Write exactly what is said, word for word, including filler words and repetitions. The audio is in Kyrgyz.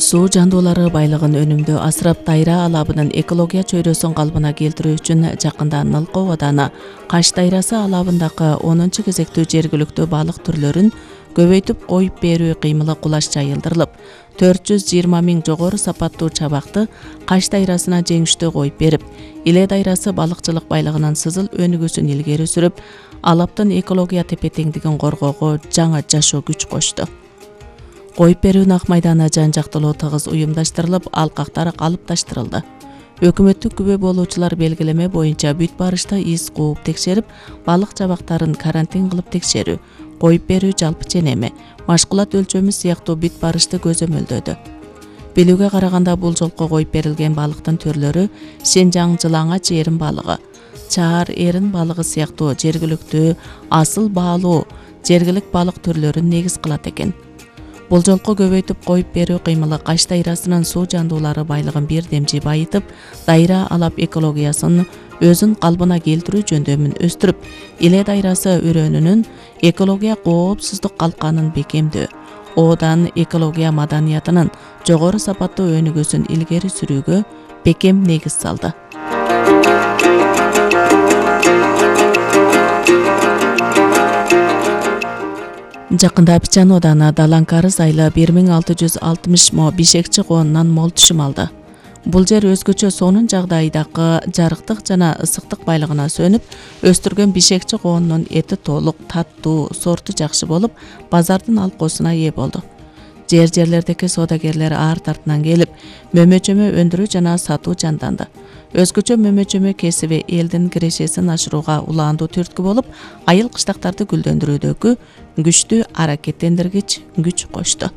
Суу жандуулары байлыгын өнүмдүү асырап, Дайра алабынын экология чөйрөсүн калыбына келтирүү үчүн жакында Нылкоо ооданы Каш дайрасы алабындагы онунчу кезектүү жергиликтүү балык түрлөрүн көбөйтүп коюп берүү кыймылы кулаш жайылдырылып, төрт жүз жыйырма миң жогору сапаттуу чабакты Каш дайрасына жеңиштүү коюп берип, Иле дайрасы балыкчылык байлыгынын сызыл өнүгүүсүн илгери сүрүп, алаптын экология тепе-теңдигин коргоого жаңы жашоо күч кошту. Коюп берүүнүн ак майданы жан-жактылуу тыгыз уюмдаштырылып, алкактар калыпташтырылды. Өкмөттүк күбө болуучулар белгилеме боюнча бүт барышта из кууп текшерип, балык чабактарын карантин кылып текшерүү, коюп берүү жалпы ченеми, машкулат өлчөмү сыяктуу бүт барышты көзөмөлдөдү. Билүүгө караганда бул жолку коюп берилген балыктын түрлөрү Сенжаң жылаңач эрин балыгы, Чаар эрин балыгы сыяктуу жергиликтүү асыл баалуу жергилик балык түрлөрүн негиз кылат экен. Бул жолку көбөйтүп коюп берүү кыймылы Каш дайрасынын суу жандуулары байлыгын бир демчи байытып, Дайра алап экологиясын өзүн калыбына келтирүү жөндөмүн өстүрүп, Иле дайрасы өрөөнүнүн экология коопсуздук калканын бекемдөө, оодан экология маданиятынын жогору сапаттуу өнүгүүсүн илгери сүрүүгө бекем негиз салды. Жакында Пичан ооданы Далан-Карыз айылы бир миң алты жүз алтымыш мо бишекчи коонунан мол түшүм алды. Бул жер өзгөчө сонун жагдайдагы жарыктык жана ысыктык байлыгына сөнүп, өстүргөн бишекчи коонунун эти толук, таттуу, сорту жакшы болуп, базардын алкоосуна ээ болду. Жер-жерлердеги соодагерлер ар тартынан келип, мөмөчөмө өндүрүү жана сатуу жанданды. Өзгөчө мөмөчөмө кесиби элдин кирешесин ашырууга улаандуу түрткү болуп, айыл кыштактарды гүлдөндүрүүдөгү күчтүү аракеттендиргич күч кошту.